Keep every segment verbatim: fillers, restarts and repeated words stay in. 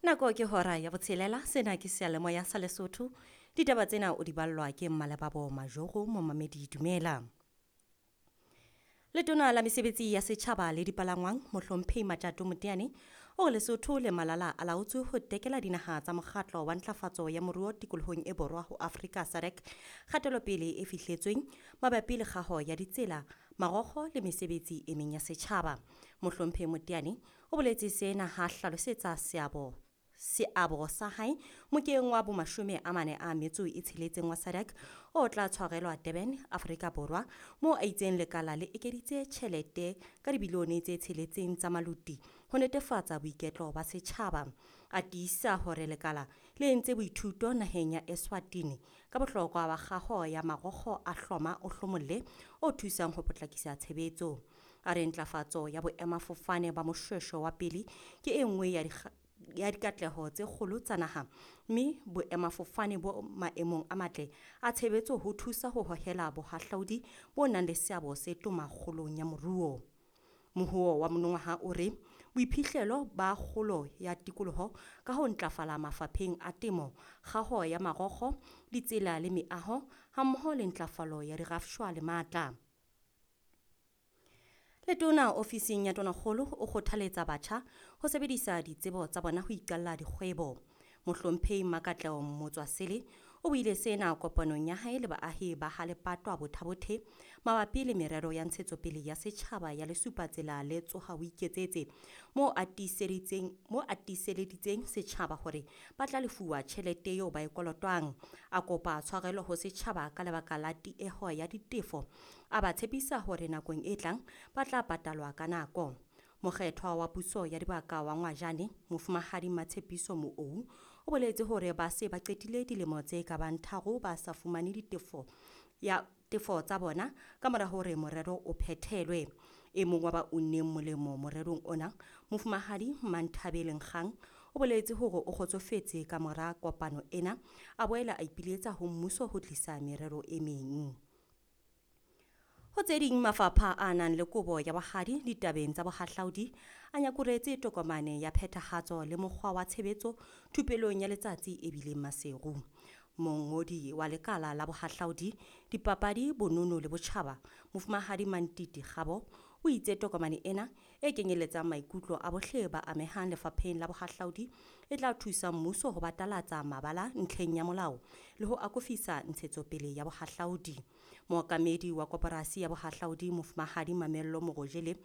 Nako ke hora ya botshelela, sena ke seyalemoya sa Lesotho. Ditaba tsena o di ballwa ke Mmalebabo Majoro. Momamedi, dumela. Letona la mesebetsi ya setjhaba le dipalangwang, Mohlomphehi Matjato Moteane, o re Lesotho le Malala a laotswe ho tekela dinaha tsa mokgatlo wa ntlafatso ya moruo tikolohong e borwa ho Afrika, SADC, kgatelopele e fihletsweng mabapi le kgaho ya ditsela, marokgo le mesebetsi e meng ya setjhaba. Mohlomphehi Moteane o boletse sena ha hlalosetsa seabo seabo sa hae mokeng wa bomashome a mane a metso e tsheletseng wa SADC o tla tshwarelwa Durban, Afrika Borwa, moo a itseng lekala le ekeditse tjhelete ka dibilione tse tsheletseng tsa maluti ho netefatsa boiketlo ba setjhaba. A tiisa hore lekala le entse boithuto naheng ya Eswatini ka bohlokwa ba kgaho ya marokgo a hloma o hlomolle o thusang ho potlakisa tshebetso. A re ntlafatso ya boemafofane ba Moshoeshoe wa pele ke e nngwe ya ya dikatleho tse kgolo tsa naha, mme boemafofane bo maemong a matle a tshebetso ho thusa ho hohela bohahlaudi bo nang le seabo se toma kgolong ya moruo. Mohuo wa monongwaha o re boiphihlelo ba kgolo ya tikoloho ka ho ntlafala mafapheng a temo, kgaho ya marokgo, ditsela le meaho, hammoho le ntlafalo ya dirafshwa le matla. Letona ofising ya Tonakgolo o kgothaletsa batjha ho sebedisa ditsebo tsa bona ho iqalla dikgwebo. Mohlomphehi Makatleho Motswasele o buile sena kopanong ya hae le baahi ba ha Lepatwa Bothabothe mabapi le merero ya ntshetsopele ya setjhaba ya Lesupatsela le Tsoha o Iketsetse, moo a tiiseditseng moo a tiiseleditseng setjhaba hore ba tla lefuwa tjhelete eo ba e kolotwang. A kopa tshwarelo ho setjhaba ka lebaka la tieho ya ditefo, a ba tshepisa hore nakong e tlang ba tla patalwa ka nako. Mokgethwa wa puso ya dibaka wa Ngwajane, Mofumahadi Matshepiso Moou, o boletse hore ba se ba qetile dilemo tse ka bang tharo ba sa fumane ditefo ya tefo tsa bona ka mora hore morero o phethelwe. E mong wa ba unneng molemo morerong ona, Mofumahadi Manthabeleng Kgang, o boletse hore o kgotsofetse ka mora kopano ena, a boela a ipiletsa ho mmuso ho tlisa merero e meng. Ho tse ding, mafapha a nang le kobo ya bohadi ditabeng tsa bohahlaudi a nyakuretse tokomane ya phethahatso le mokgwa wa tshebetso thupelong ya letsatsi e bileng Maseru. Mongodi wa lekala la bohahlaudi, dipapadi, bonono le botjhaba, Mofumahadi Mantiti Kgabo, o itse tokomane ena e kenyeletsang maikutlo a bohle ba amehang lefapheng la bohahlaudi e tla thusa mmuso ho batalatsa mabala ntlheng ya molao le ho akofisa ntshetsopele ya bohahlaudi. Mookamedi wa koporasi ya bohahlaudi, Mofumahadi Mamello Morojele,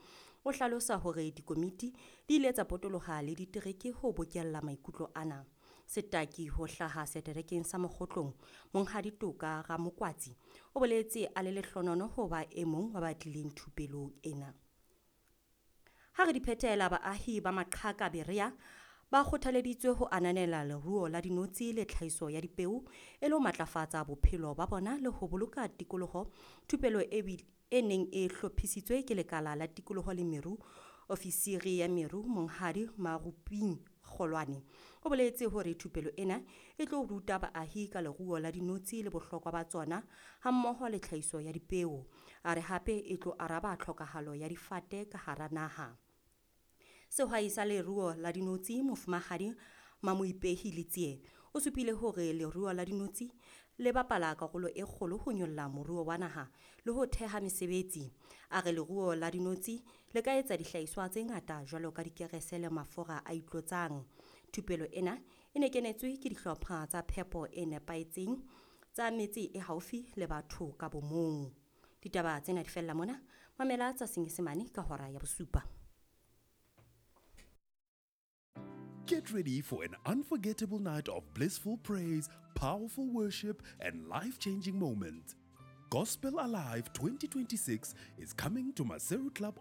o hlalosa hore dikomiti di ile tsa potoloha le ditereke ho bokella maikutlo ana. Setaki ho hlaha seterekeng sa Mokgotlong, Monghadi Toka Ramokwatsi, o boletse a le lehlonono ho ba e mong wa ba tlileng thupelong ena. Ha re di phethela, baahi ba Maqhaka Berea ba kgothaleditswe ho ananela leruo la dinotshi le tlhahiso ya dipeo e le ho matlafatsa bophelo ba bona le ho boloka tikoloho. Thupelo e, e neng e hlophisitswe ke lekala la tikoloho le meru, ofisiri ya meru Monghadi Maruping Kgolwane, o boletse hore thupelo ena e tlo ruta baahi ka leruo la dinotshi le bohlokwa ba tsona hammoho le tlhahiso ya dipeo. A re hape e tlo araba tlhokahalo ya difate ka hara naha. Sehwai sa leruo la dinotshi, Mofumahadi Mamoipehi Letsie, o supile hore leruo la dinotshi le bapala karolo e kgolo ho nyolla moruo wa naha le ho theha mesebetsi. A re leruo la dinotshi le ka etsa dihlahiswa tse ngata jwalo ka dikerese le mafura a itlotsang. Thupelo ena e ne kenetswe ke dihlopha tsa phepo e nepahetseng tsa metse e haufi le batho ka bomong. Ditaba tsena di fella mona. Mamela tsa Senyesemane ka hora ya bosupa. Get ready for an unforgettable night of blissful praise, powerful worship, and life changing moments. Gospel Alive twenty twenty-six is coming to Maseru Club.